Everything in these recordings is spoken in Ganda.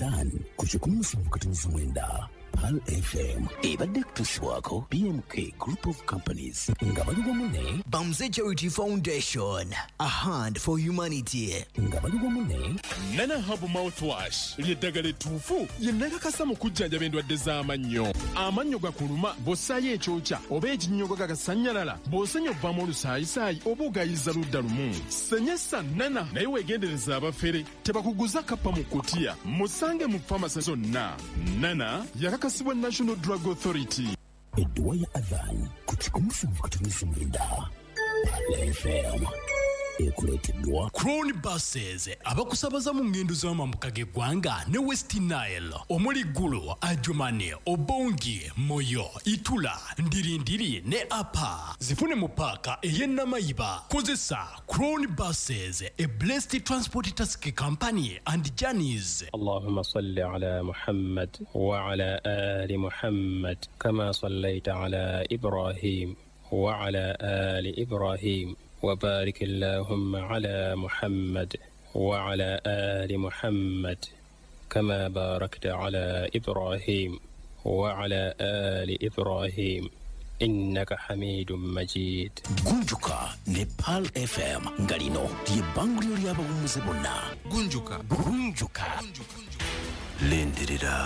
Adhan ku 107.9 Pearl FM ebadde kutuusibwako BMK Group of Companies nga bali wamu ne Bamze Charity Foundation, a hand for humanity. Nga bali wamu ne Nana Herbal Mouthwash ly'eddagala ettuufu ye nakakasa mu kujjanjaba endwadde z'amannyo. Amannyo gakuluma bw'ossaayo ekyokya oba ekinnyogo gagasannyalala, bw'osenya ovaamu olusaayisaayi oba ogayiza ludda lumu. Senyesa Nana naye weegendereza abafere tebakuguza kappa mu kutiya. Musange mu famasi zonna. Nana yakakasibwa National Drug Authority. Edduwa ya Adhan ku 107.9 Pearl FM ekuleeteddwa Crown Buses abakusabaza mu ngendo z'amambuka g'eggwanga ne West Nile omuli Gulu, Adjumani, Obongi, Moyo, Itula, Ndirindiri ne Apa. Zifune mu paaka ey'e Namayiba. Kozesa Crown Buses, a blessed transport taxi company and journeys. اللهم صل على محمد وعلى آل محمد كما صليت على إبراهيم وعلى آل إبراهيم وبارك اللهم على محمد وعلى آل محمد كما باركت على إبراهيم وعلى آل إبراهيم إنك حميد مجيد. Gunjuka ne Pearl FM nga lino ly'ebbanguliro ly'abawummuze bonna. Gunjuka. Gunjuka. Lindirira.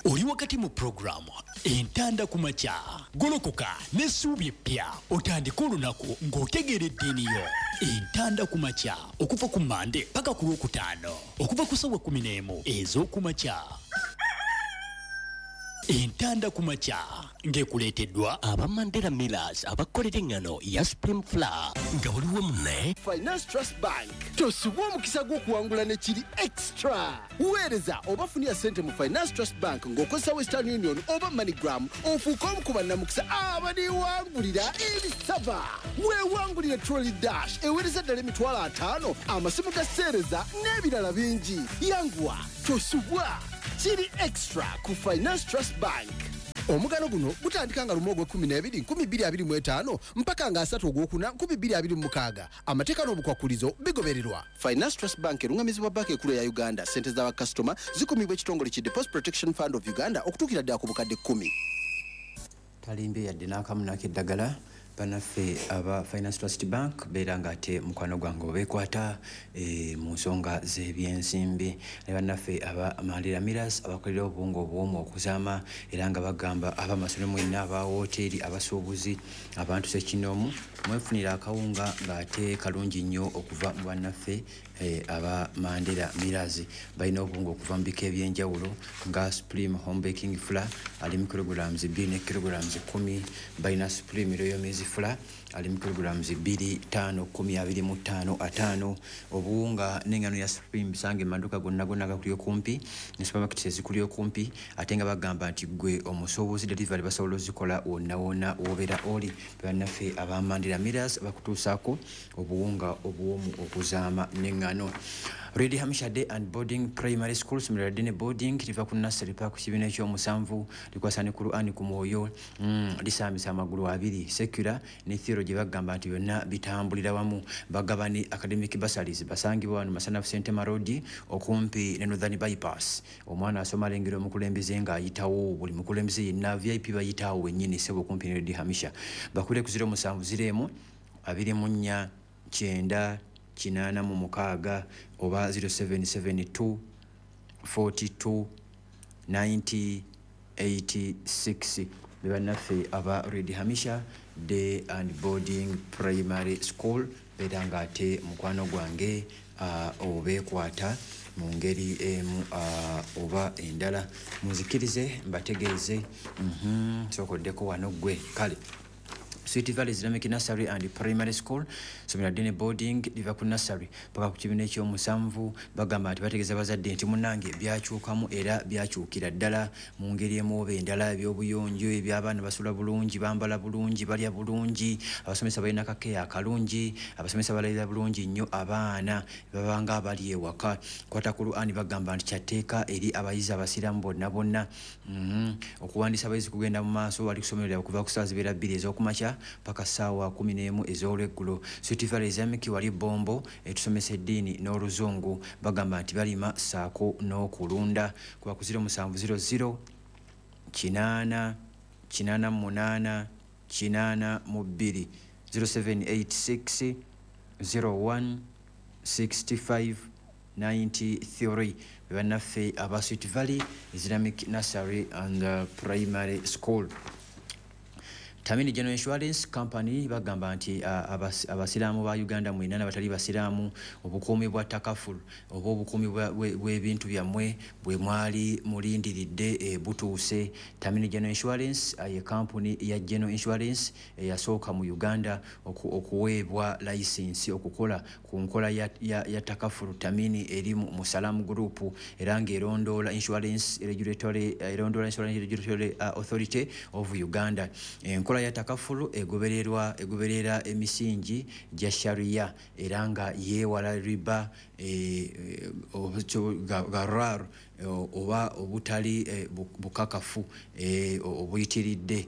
Oli wakati mu puroguramu Entanda ku Makya. Golokoka n'essuubi eppya otandike olunaku ng'otegeera eddiini yo. Entanda ku Makya okuva ku Mande paka ku Lwokutaano okuva ku ssaawa 11 ez'okumakya. Entanda ku Makya ng'ekuleeteddwa aba Mandela Millers abakolera eŋŋano ya Supreme Flour nga buli wamu ne Finance Trust Bank. Tosubwa omukisa gw'okuwangula ne kiri extra. Weereza oba funira ssente mu Finance Trust Bank ng'okozesa Western Union oba MoneyGram ofuuke omu ku bannamukisa abaliwangulira ebisaba. Weewangulire Trolley Dash eweereza ddala 50,000, amasimu ga seereza n'ebirala bingi. Yanguwa, tosubwa. Kiri extra ku Finance Trust Bank. Omugano guno gutandika nga 1 ogw'ekkumi n'ebiri 2025 mpaka nga 3 ogwokuna 2026. Amateeka n'obukwakulizo bigobererwa. Finance Trust Bank erungamizibwa Banka Ekulu ya Uganda. Ssente z'abakasitoma zikumibwa ekitongole ki Deposit Protection Fund of Uganda okutuukira ddala ku bukadde 10. Talimbye yadde n'akamu n'akeddagala. Bannaffe aba Finance Trust Bank beera ng'ate mukwano gwange obeekwata mu nsonga z'ebyensimbi, ne bannaffe aba Mandela Millers abakolera obuwunga obuwoomu okuzaama, era nga bagamba abamasomero mwenna, aba wooteeri, abasuubuzi, abantu ssekinnoomu, mwefunira akawunga ng'ate kalungi nnyo okuva mu bannaffe aba Mandela Millers. Balina obuwunga okuva mu bika ebyenjawulo nga Supreme Home Baking Flour ali mu kilograms 2 ne kilograms 10. Balina Supreme Royal Maize Flour ali mu kilograms 2, 5, 10, 25, 50. Obuwunga n'engano ya Supreme bisange mu maduuka gonna gonna agakuli okumpi ne supermarkets ezikuli okumpi, ate nga bagamba nti gwe omusuubuzi delivery basobola ozikola wonna wonna w'obeera oli. Bannaffe aba Mandela Millers bakutuusaako obuwunga obuwoomu okuzaama n'eŋŋano. Lady Hamisha Day and Boarding Primary School, ssomero lya day ne boarding, liva ku nursery paka ku kibiina ekyomusanvu, likwasa ne Qur'an ku mwoyo, lisaamisa amagulu abiri, secular ne theology, bagamba nti byonna bitambulira wamu. Bagaba ne academic bursaries. Basangibwa wano Masanafu Sentema Road okumpi ne Northern Bypass. Omwana asoma alengera omukulembeze ng'ayitawo, buli mukulembeze yenna VIP bayitaawo wennyini ssebo okumpi ne Lady Hamisha. Bakubire ku 070 24 90 86 oba 0772 42 90 86. Be bannaffe aba Lady Hamisha Day and Boarding Primary School, beera ng'ate mukwano gwange obeekwata mu ngeri emu oba endala. Munzikirize mbategeeze, sookoddeko wano ggwe. Kale Sweet Valley Islamic Nursery and Primary School, ssomero ddene boarding, liva ku nursery paka ku kibiina ekyomusanvu. Bagamba nti bategeeza bazadde nti munnange byakyukamu era byakyukira ddala mu ngeri emu oba endala, ebyobuyonjo, eby'abaana basula bulungi, bambala bulungi, balya bulungi, abasomesa balina kakeya akalungi, abasomesa balabirira bulungi nnyo abaana, babanga abali ewaka. Kwata Qur'an bagamba nti kyatteeka eri abayizi abasiraamu bonna bonna. Okuwandiisa abayizi kugenda mu maaso, bali ku ssomero lyabwe kuva ku ssaawa zibeera 2 ez'okumakya. paka ssaawa 11 ez'olweggulo. Sweet Valley Islamic wali Bombo, etusomesa eddiini n'oluzungu. Bagamba nti balima ssaako n'okulunda. Kuba ku 0700 8 88 82, 0786 01 65 93. Bannaffe aba Sweet Valley Islamic Nursery and Primary School. Tamini General Insurance Company bagamba nti abasiraamu ba Uganda mwenna n'abatali basiraamu, obukuumi bwa takaful oba obukuumi bw'ebintu byammwe bwe mwali mulindiridde butuuse. Tamini General Insurance ye kampuni ya General Insurance eyasooka mu Uganda okuweebwa layisinsi okukola ku nkola ya takaful. Tamini eri mu Salam Group era ng'erondoola Insurance Regulatory Authority of Uganda. Enkola ya takafulu egoberera emisingi gya sharia era nga yeewala riba, gharar oba obutali bukakafu obuyitiridde,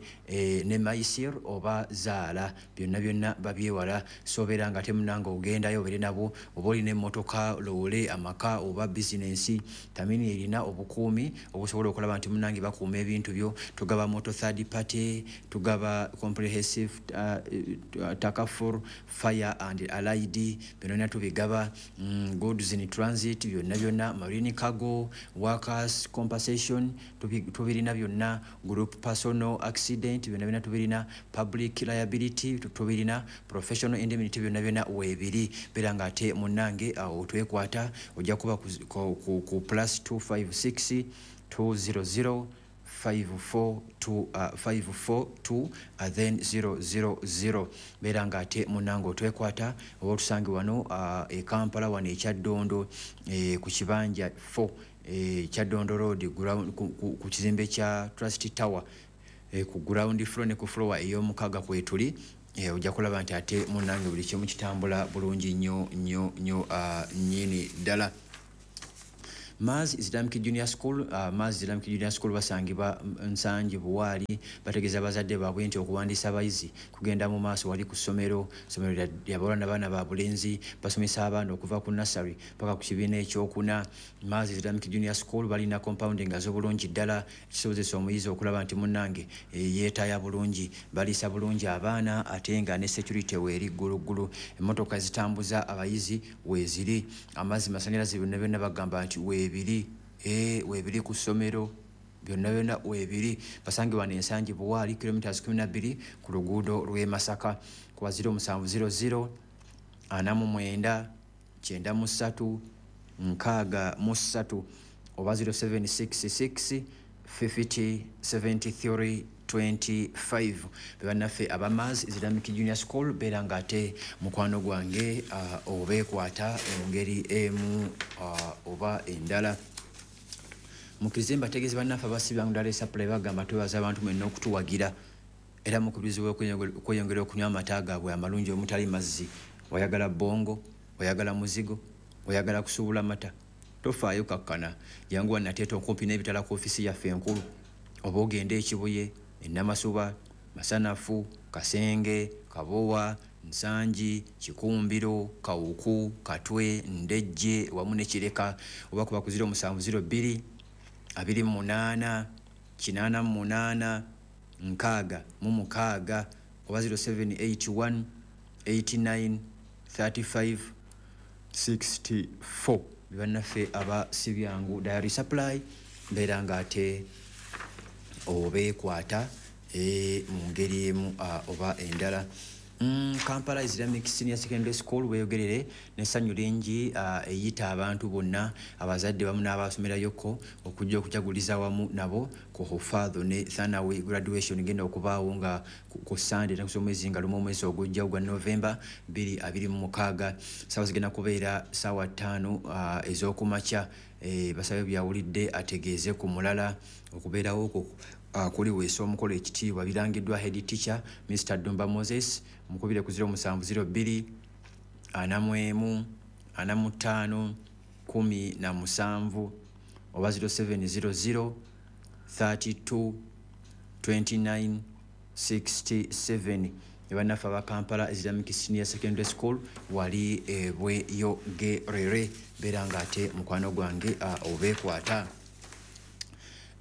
ne maisir oba zaala, byonna byonna babyewala. Sobeera nga temunanga ogendayo obeere nabo, oba olina emmotoka, loole, amaka oba bizinensi, Tamini erina obukuumi obusobola okulaba nti munange bakuuma ebintu byo. Tugaba motor third party, tugaba comprehensive takaful, fire and allied, byonna byonna tubigaba, goods in transit, byonna byonna, marine cargo, workers compensation, tubirina byonna, group personal accident, byonna byonna tubirina, public liability tubirina, professional indemnity, byonna byonna weebiri. Beera nga ate munnange awo twekwata, ojja kuba ku +256 200 542 542 then 000. Beera nga ate munnange otwekwata oba otusange wano e Kampala, wano e Kyaddondo, ku kibanja 4, Kyaddondo Road, ku kizimbe kya Trust Tower, ku ground floor ne ku floor ey'omukaaga kwetuli. Ojja kulaba nti ate munnange buli kimu kitambula bulungi nnyo nnyo nnyo nnyini ddala. Mars Islamic Junior School, Mars Islamic Junior School basangibwa Nsangi Buwaali. Bategeeza abazadde baabwe nti okuwandiisa abayizi kugenda mu maaso wali ku ssomero. Ssomero lyabawala n'abaana ba bulenzi. Basomesa abaana okuva ku nursery paka ku kibiina ekyokuna. Mars Islamic Junior School balina compound nga z'obulungi ddala, ekisobozesa omuyizi okulaba nti munnange yeetaaya bulungi. Baliisa bulungi abaana ate nga ne security weeri gguluggulu. Emmotoka zitambuza abayizi weeziri. Amazzi, masanyalaze, byonna byonna bagamba nti weebiri, weebiri ku ssomero, byonna byonna weebiri. Basange wano Ensangi Buwaali, kilometers 12 ku luguudo lw'e Masaka, kuba 0700 49 93 63 oba 0766 50 73 25. Bebannaffe aba Mars Islamic Junior School. Beera nga ate mukwano gwange obeekwata mu ngeri emu oba endala. Mukkirize mbategeeze, bannaffe abasibyangu ddala supply bagamba twebaza abantu mwenna okutuwagira era mukubirizibwa okweyongera okunywa amata gaabwe amalungi omutali mazzi. Oyagala bongo, oyagala muzigo, oyagala kusuubula mata, tofaayo, kakkana, jangu wannateeta okumpi n'ebitala ku ofiisi yaffe enkulu, oba ogende Ekibuye, Enamasuba, Masanafu, Kasenge, Kabowa, Nsangi, Kikumbiro, Kawuku, Katwe, Ndejje wamu ne Kireka, oba kuba ku 0702 28 88 66 oba 0781 89 35 64. Bannaffe aba Sibyangu Dairy Supply, mbeera nga ate obeekwata mu ngeri emu oba endala. Kampala Islamic Senior Secondary School weeyogerere n'essanyu lingi eyita abantu bonna, abazadde wamu n'abasomerayoko, okujja okujaguliza wamu nabo ku hufadho ne Thanawi graduation genda okubaawo nga ku Sande ennaku z'omwezi nga 1 omwezi ogujja ogwa Novemba 2026. Saawa zigenda kubeera saawa 5 ez'okumakya. Basabe byawulidde ategeeze ku mulala okubeerawo okwo kuliweesa omukolo ekitiibwa. Birangiddwa head teacher Mr Dumba Moses. Mukubire ku 0702 41 45 17 oba 0700 32 29 67. Ne bannaffe aba Kampala Islamic Senior Secondary School wali Bweyogerere, beera ng'ate mukwano gwange obeekwata.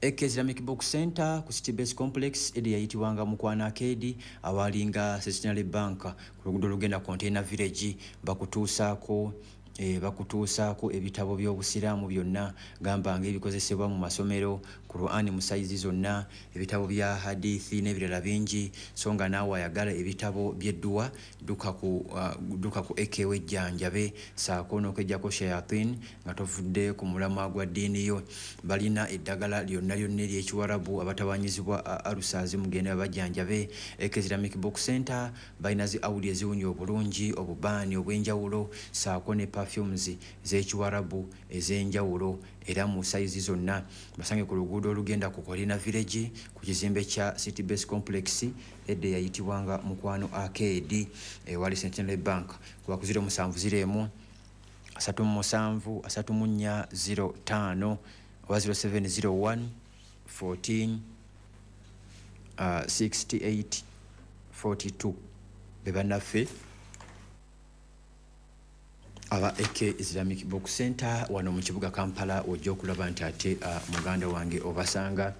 AK Islamic Book Center ku City Base Complex, edi yayitibwanga Mukwano Arcade, awalinga Centenary Bank ku luguudo olugenda Container Village, bakutuusaako ebitabo by'obusiraamu byonna, gamba ng'ebikozesebwa mu masomero, Qur'an mu sayizi zonna, ebitabo bya hadithi n'ebirala bingi. So nga naawe ayagala ebitabo by'edduwa, dduka ku AK wejjanjabe saako n'okweggyako shayatin nga tovudde ku mulamwa gwa ddiini yo. Balina eddagala lyonna lyonna ery'ekiwarabu, abatawanyizibwa alusaazi mugende babajjanjabe. AK Islamic Book Center balina zi audio eziwunya obulungi, obubaani obw'enjawulo saako ne perfumes z'ekiwarabu ez'enjawulo era mu sayizi zonna. Basange ku luguudo olugenda ku Colina Village ku kizimbe kya City Base Complex, edda eyayitibwanga Mukwano Arcade, ewali Centenary Bank, kuba ku 0701 37 34 05 oba 0701 14 68 42. Be bannaffe aba AK Islamic Book Center wano mu kibuga Kampala, ojja okulaba nti ate muganda wange obasanga.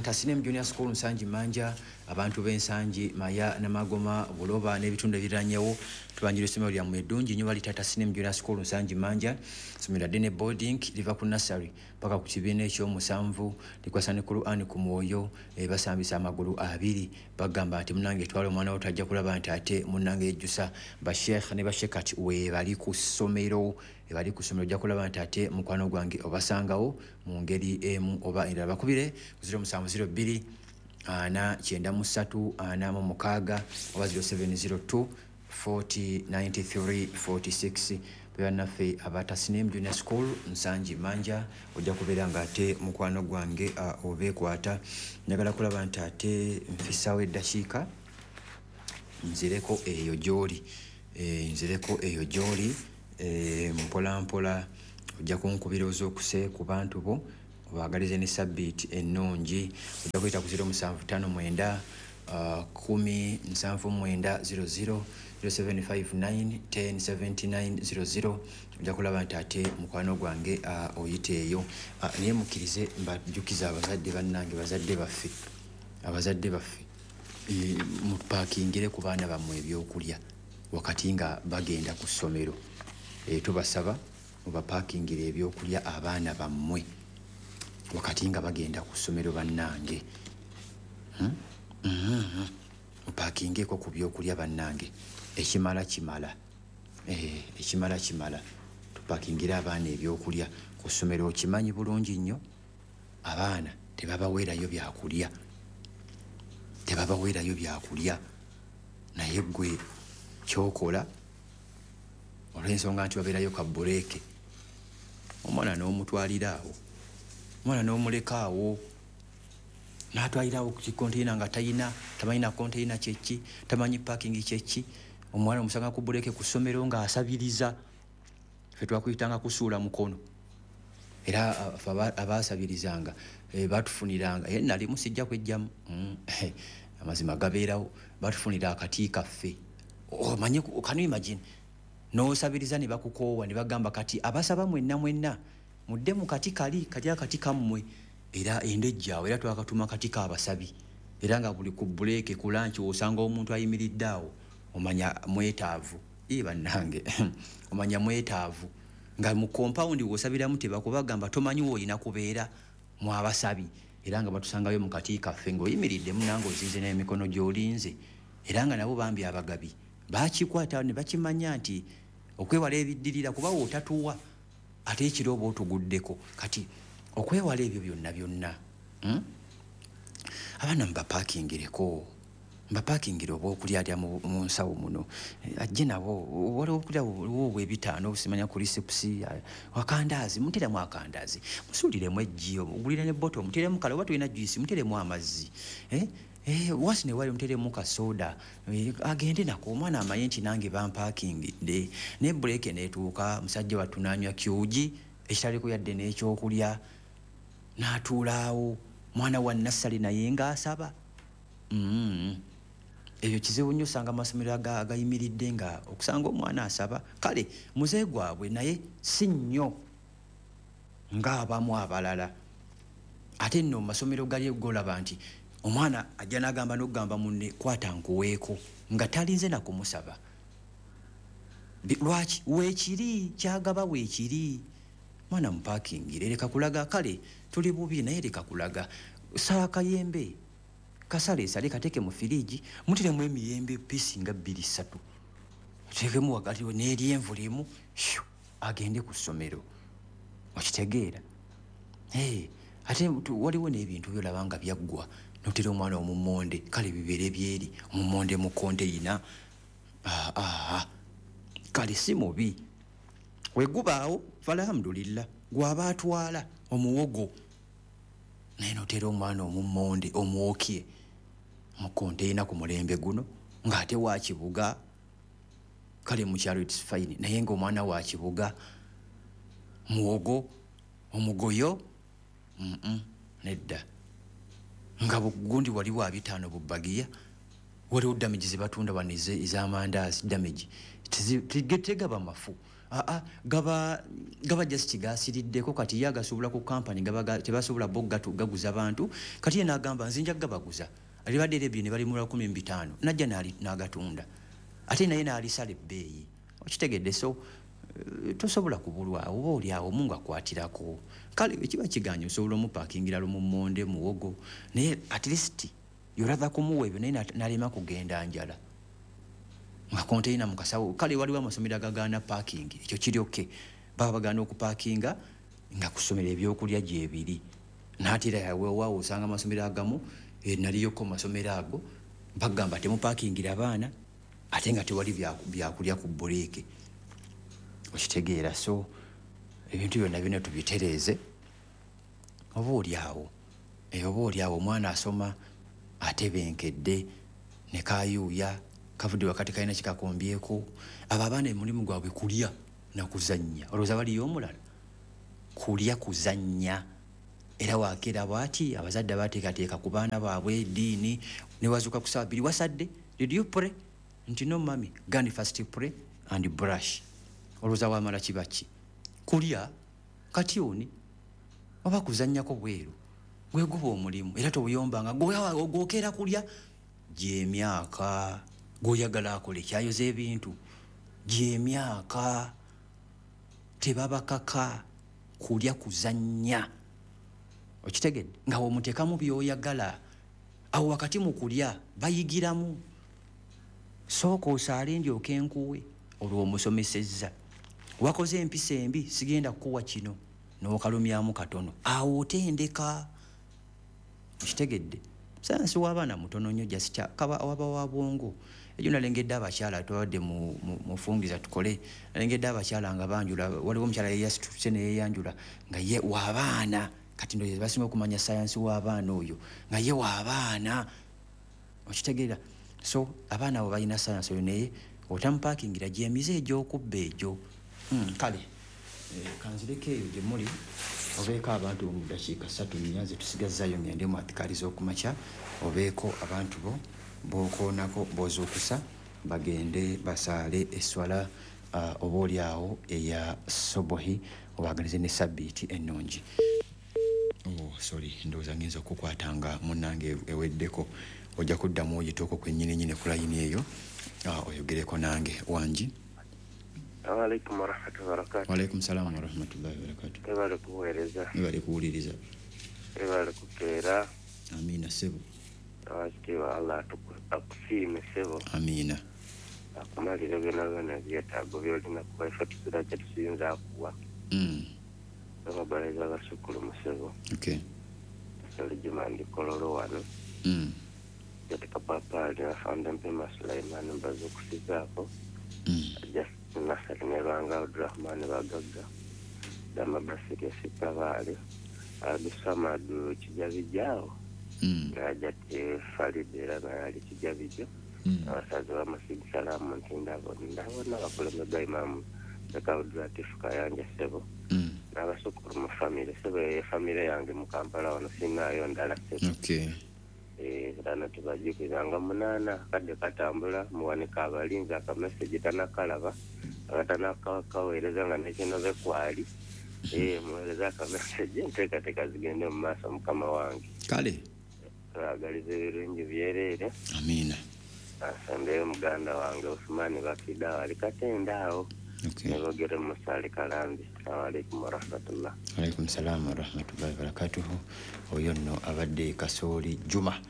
Tasinem Junior School Nsangi Manja, abantu b'Ensangi, Maya, Namagoma, Buloba n'ebitundu ebiriranyewo, tubanjira essomero lyammwe eddungi nnyo balita Tasinem Junior School Nsangi Manja. Essomero lya day boarding, liva ku nursery paka ku kibiina ekyomusanvu, likwasa ne Quran ku mwoyo, basambisa amagulu abiri. Bagamba nti munange twala omwana wo, tajja kulaba nti ate munnange yejjusa. Basheekh ne bashekat weebali ku ssomero, ebali ku ssomero. Ojja kulaba nti ate mukwano gwange obasangawo mu ngeri emu oba endala. Bakubire ku 0702 493 46 oba 0702 40 93 46. Bannaffe aba Tasnim Junior School Nsangi Manja, ojja kubeera nga ate mukwano gwange obeekwata. Njagala kulaba nti ate nfisaawo eddakiika nzireko eyo gy'oli, nzireko eyo gy'oli, mpola mpola. Ojja kunkubira ozuukuse ku bantu bo, obaagalize ne sabbiiti ennungi. Ojja kuyita ku 0759 10 79 00, 0759 10 79 00. Ojja kulaba nti ate mukwano gwange oyita eyo. Naye mukkirize mbajjukiza abazadde bannange, bazadde baffe, abazadde baffe, mupakingire ku baana bammwe ebyokulya wakati nga bagenda ku ssomero. Tubasaba mubapakingire ebyokulya abaana bammwe wakati nga bagenda ku ssomero. Bannange, Mupakingeko ku byokulya bannange. Ekimala kimala, ekimala kimala. Tupakingire abaana ebyokulya ku ssomero. Okimanyi bulungi nnyo abaana tebabaweerayo byakulya, tebabaweerayo byakulya, naye gwe kyokola, olw'ensonga nti babeerayo ka break, omwana n'omutwalira awo, omwana n'omuleka awo n'atwalirawo ku kikonteina nga tayina, tamanyi na konteina kyeki, tamanyi parking kyeki. Omwana omusanga ku break ku ssomero ng'asabiriza. Ffe twakuyitanga kusuula mukono, era ffe abaasabirizanga batufuniranga, nali musijja kwejjamu, amazima gabeerawo, batufunira akati kaffe. Omanye, can you imagine, n'osabiriza ne bakukoowa ne bagamba, "Kati abasaba mwenna mwenna mudde mu kati kali kati akati kammwe." Era endejjaawo, era twakatuma kati kaabasabi. Era nga buli ku break, ku lunch, osanga omuntu ayimiridde awo, omanya mwetaavu. Ee bannange, omanya mwetaavu nga mu compound wosabiramu tebakubagamba, tomanyi woolina kubeera mu abasabi. Era nga batusangayo mu kati kaffe ng'oyimiridde munange, ozinze n'emikono gy'olinze. Era nga nabo bambi abagabi bakikwata ne bakimanya nti okwewala ebiddirira, kuba wootatuwa ate ekiro oba otuguddeko. Kati okwewala ebyo byonna byonna, Abaana mubapakingireko, mbapakingire obwokulya alya mu nsawo muno, ajje nabo. Waliwo okulya waliwo obwebitaano, obusimanya crisps, akandaazi, muteremu akandaazi, musuuliremu eggi, ogulire ne bottle, muteremu kale, oba tulina juice, muteremu amazzi, eh? Wasi ne wali muteremu kasoda, agende nako. Omwana amanye nti nange bampakingidde. Ne break neetuuka, musajja wattu n'anywa kyugi ekitaliko yadde n'ekyokulya, n'atuulaawo, mwana wa nursery naye ng'asaba. Ebyo kizibu nnyo osanga amasomero agayimiridde nga okusanga omwana asaba. Kale muze gwabwe naye si nnyo ng'abamu abalala. Ate nno mu masomero gali golaba nti omwana ajja n'agamba n'okugamba munne kwata nkuweeko nga talinze na kumusaba. Lwaki? Weekiri kyagaba weekiri. Mwana mupakingire leka kulaga. Kale tuli bubi naye leka kulaga. Sala kayembe kasaleesale kateeke mu firiji muteremu emiyembe piisi nga 2-3 oteekemu wakati n'eryenvu limu agende ku ssomero. Okitegeera? Ate waliwo n'ebintu byolaba nga byaggwa notera omwana omummonde, kale bibeere byeri omummonde mu konteyina. Kale si mubi wegubaawo falhamdulillah gwaba atwala omuwogo naye notera omwana omummonde omwokye mu konteyina ku mulembe guno ng'ate wa kibuga. Kale mu kyalo it's fine naye ng'omwana wa kibuga muwogo omugoyo nedda. Nga bugundi waliwo 5 bubagiya waliwo damage zebatunda wano ez'amandaazi damage tegaba mafu. Gaba just gasiriddeko kati ye agasobola ku kampani tebasobola bo gaguza bantu. Kati ye n'agamba nze nja gabaguza alibadde erebye ne bali mu 15 najja n'agatunda ate naye n'alisala ebbeeyi. Okitegedde? So tosobola kubulwa oba oli awo Mungu akwatirako. Kale ekiba kiganye osobola omupakingira lumummonde muwogo naye at least yoratha kumuwa ebyo naye n'alema kugenda njala nga konteyina mu kasawo. Kale waliwo amasomero agagaana parking, ekyo kiri okay, baba bagaana okupakinga nga kusomera ebyokulya gyebiri. Naatera weewaawo osanga amasomero agamu naliyoko masomero ago bagamba temupakingira abaana ate nga tewali byakulya ku bureeke. Okitegeera? So ebintu byonna byonna tubitereeze. Oba oli awo oba oli awo omwana asoma atebenkedde ne kayuuya kavudde wakati kalina kikakombyeko. Abo abaana omulimu gwabwe kulya na kuzannya. Olowooza baliyo omulala? Kulya kuzannya. Era wakeera bw'ati abazadde abateekateeka ku baana baabwe eddiini ne wazuuka ku ssaawa 2 wasadde, did you pray? Nti no mummy, go and first pray and brush. Olowooza wamala kiba ki? Kulya kati oni oba kuzannyako bweru gwe guba omulimu. Era tobuyombanga gwokeera kulya gy'emyaka gw'oyagala akole kyayoza ebintu gy'emyaka. Tebabakaka kulya kuzannya. Okitegedde? Nga womuteekamu by'oyagala awo wakati mu kulya bayigiramu. Sooka osaale ndyoke nkuwe olwo omusomesezza. Wakoze empisa embi sigenda kukuwa kino n'okalumyamu katono awo otendeka. Okitegedde? Sayansi w'abaana mutono nnyo just kaba waba wa bwongo. Ejo nalengedde abakyala tubadde mufungiza tukole, nalengedde abakyala nga banjula. Waliwo omukyala yeyasituse ne yeeyanjula nga ye w'abaana. Kati ndowooza basinga okumanya sayansi w'abaana oyo nga ye w'abaana. Okitegeera? So abaana abo balina sayansi oyo naye otamupakingira gy'emize egy'okubba egyo. Kale kanzireko eyo gye muli obeeko abantu mu ddakiika 3 4 zetusigazaayo ngende mu atikaali z'okumakya. Obeeko abantu bo b'okoonako b'ozuukusa bagende basaale esswala oba oli awo eya sobohi obaagalize ne sabbiiti ennungi. Oh, sorry, ndowooza ngenza okukwatanga munnange eweddeko. Ojja kuddamu oyiteeko kwennyini nnyini ku layini eyo oyogereko nange. Wangi? Alaikum warahmatullahi wabarakatuh. Waalaikum salaam warahmatullahi wabarakatuh. Webale kuweereza. Webale kuwuliriza. Webale kukeera. Amiina ssebo. Awakitiibwa Allah akusiime ssebo. Amiina. Akumalire byonna byonna ebyetaago by'olina kuba ife tuzira kye tuyinza akuwa. Ababaleza abasukulu ssebo. Okay. Sali Juma ndi Kololo wano. Jatika papaali afande Mpema Sulaiman mbazuukusizaako. Nasali ne Lwanga Abdurahman Bagagga Dama Basiri Sitabaale Abdusamadu Kijabijaawo Najati Falid era naye ali Kijabijo. Abasaza b'Amasigi Salaamu nti ndabona abakulembeze Imaamu Sheikh Abdulatif Kayanja ssebo n'abasukulu mu famire ssebo. Eyo famire yange mu Kampala wano sinaayo ndala ssebo. Okay. Era tubajjukizanga 8 kadde katambula muwanika abalinzi akameseji tanakalaba akatanakaweereza nga nekinobe kwali. Muweereza akameseji enteekateeka zigende mu maaso mukama wange. Kale twagaliza ebirungi byereere. Amiina. Asembeyo muganda wange Usumani Bakida ali Katenda awo. Nebogere Musali Kalambi. Assalamu alaikum warahmatullah. Alaikum salaam warahmatullahi wabarakatuhu. Oyo nno abadde Kasooli Juma.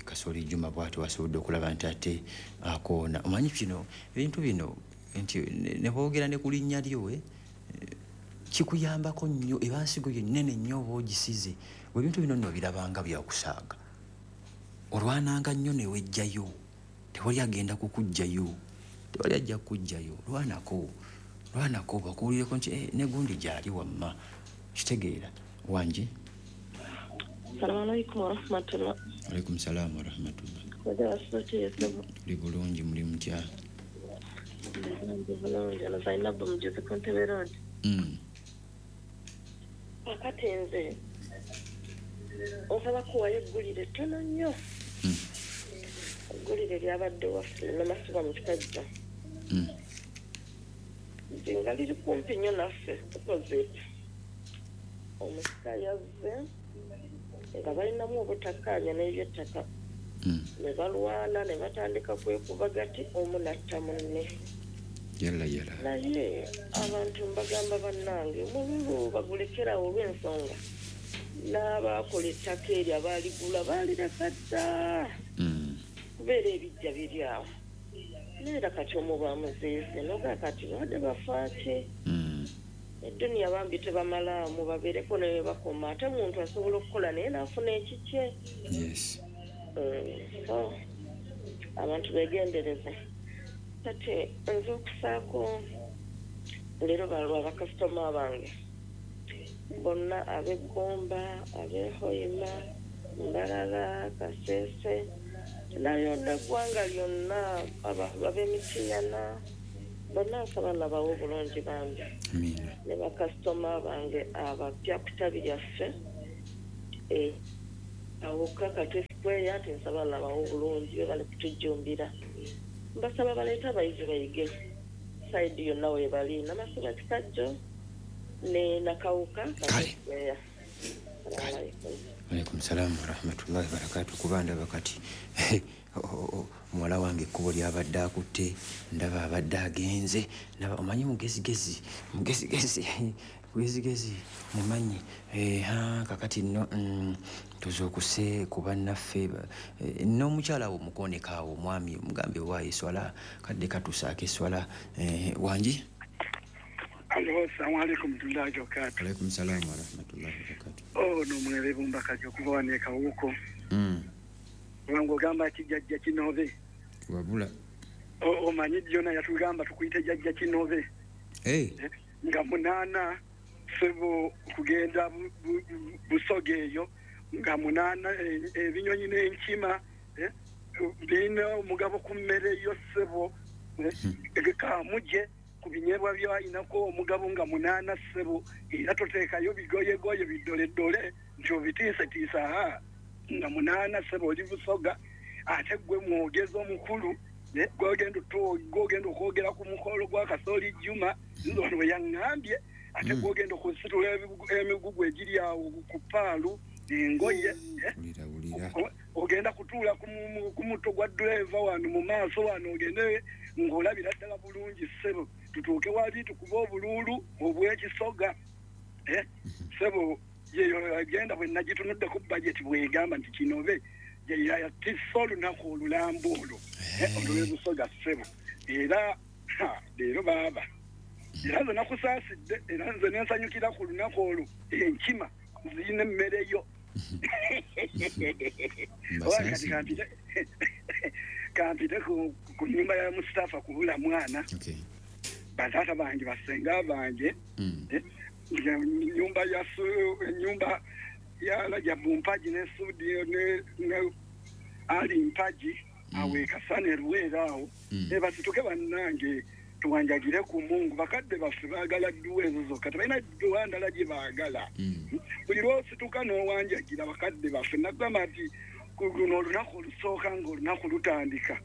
Kasooli Juma bw'ati wasobodde okulaba nti ate akoona. Omanyi kino ebintu bino nti ne boogera ne ku linnya lyo kikuyambako nnyo, eba nsigo yo nnene nnyo oba ogisize. Ebintu bino nno birabanga byakusaaga. Olwananga nnyo ne wejjayo, tewali agenda kukuggyayo, tewali ajja kukuggyayo. Lwanako lwanako bakuwulireko nti ne gundi gyali wamma. Kitegeera wangi. Assalamu alaikum warahmatullah. Alaikum salaam warahmatullah. Tuli bulungi, muli mutya? Zainabu Mujuzi ku Ntebe Road. Kakati nze osaba kuwayo eggulire ttono nnyo. Eggulire lyabadde waffe Namasuba mu Kikajjo. Nze nga liri kumpi nnyo naffe opposite. Omusika yazze nga balinamu obutakkaanya n'ebyettaka. Ne balwana ne batandika kwekuba gati omu n'atta munne. Yalla yalla. Naye abantu mbagamba bannange omululu bagulekerawo olw'ensonga n'abaakola ettaka eryo abaaligula baalireka dda. Kubeera ebijja biri awo. Naye kati omu bamuziise noga kati badde bafaaki. Eduniya bambi tebamalaamu babeereko ne we bakoma, ate omuntu asobola okukola naye n'afuna ekikye. Yes. So abantu beegendereze. Kati nze okusaako leero balwa bakasitoma bange bonna ab'eggomba, ab'ehoima, Mbarara, Kasese, nayonna eggwanga lyonna, ab'emitiyana bonna nsaba nabawe obulungi bambi. Ne bakasitoma bange abapya ku ttabi lyaffe awo Kakati Square, nti nsaba nabawe obulungi be bali kutujjumbira. Mbasaba baleete abayizi bayige sayidi yonna we bali, Namasuba Kikajjo ne Nakawuka Kakati Square. Alaikum salaam warahmatullahi wabarakatuh. Kuba ndaba kati muwala wange ekkubo lyabadde akutte, ndaba abadde agenze, ndaba omanyi mugezigezi mugezigezi mugezigezi mumanyi. Kakati nno tuzuukuse ku bannaffe n'omukyala wo mukooneka awo omwami omugambe waayo eswala kadde katusaako eswala. Wangi. Alo, assalamu alaikum warahmatullahi wabarakatuh. Alaikum salaam warahmatullahi wabarakatuh. Ono mwere Bumbakaji okuva wano e Kawuko. Wange ogamba ki jjajja Kinove? Wabula. Omanyi jjona yatugamba tukuyite jjajja Kinove. Nga 8 sebo kugenda Busoga eyo, nga 8 ebinyonyi n'enkima birina omugabo ku mmere yo sebo, kamuje ku binyeebwa byayinako omugabo nga 8 sebo, era toteekayo bigoyegoye bidoledole nti obitiisetiisa. Nga 8 sebo oli Busoga, ate gwe mwogezi omukulu gwogenda okwogera ku mukolo gwa Kasooli Juma, nze wano bwe yaŋŋambye, ate gwogenda okusitula emigugu egiri awo ku paalu engoye, ogenda kutuula ku mutto gwa ddereeva wano mu maaso wano, ogende ng'olabira ddala bulungi ssebo, tutuuke wali tukube obuluulu obw'ekisoga. Ssebo yeyo agenda bwe nagitunuddeko bajeti bwegamba nti Kinobe yatisse olunaku olulamba olwo olw'ebusoga ssebo. Era leero baaba era nze nakusaasidde, era nze nensanyukira ku lunaku olwo, enkima zirina emmere yo. Kati kampite ku nyumba ya Mustafa kubula mwana. Bataata bange basenga bange nyumba ya nyumba ya Rajabu Mpaji ne Sudi ne Ali Mpaji awe Kasane Ruwera awo basituke bannange tuwanjagire ku Mungu. Bakadde baffe baagala dduwa ezo zokka, tebalina dduwa ndala gye baagala. Buli lw'osituka n'owanjagira bakadde baffe, nagamba nti Luno olunaku olusooka ng'olunaku lutandika,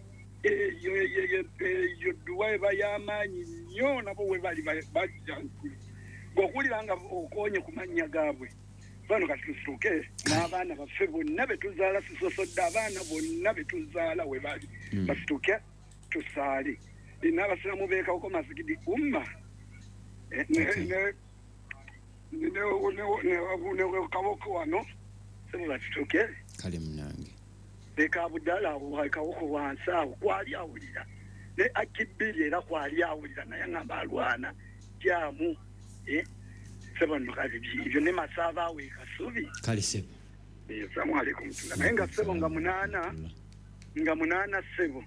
eyo dduwa eba y'amaanyi nnyo, nabo we bali bajja ng'okuwulira nga okoonye ku mannya gaabwe. Bano kati tusituke n'abaana baffe bonna be tuzaala, sisosodde abaana bonna be tuzaala we bali, basituke tusaale. N'abasiraamu beekawoko masigidi umma ne kaboko wano, sebo basituke. Kale munange. Leka Abudala awo kawoko wansi awo kwali awulira, ne akibiri era kwali awulira, naye ngamba alwana jamu sebo nno kati ebyo ne Masaaba awo e Kasubi. Kale sebo. Assalamu alaikum. Naye nga sebo nga munaana sebo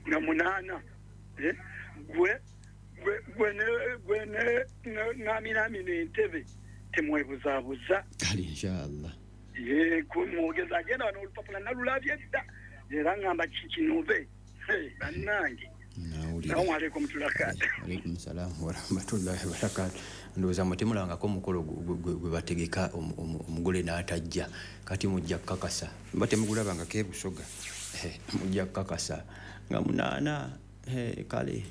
nga munaana gwe gwe ne naminamina entebe temwebuzaabuza. Kale inshallah. Ye kumwogeza agenda wano olupapula nalulabye dda, era ngamba kikinobe bannange. Assalamu alaikum tulakati. Alaikum salam wa rahmatullahi wa barakatuh. Ndowooza mutemulangako omukolo gwe bategeka omugole n'atajja, kati mujja kukakasa mba temugulabangako e Busoga, mujja kukakasa nga munaana. Kale.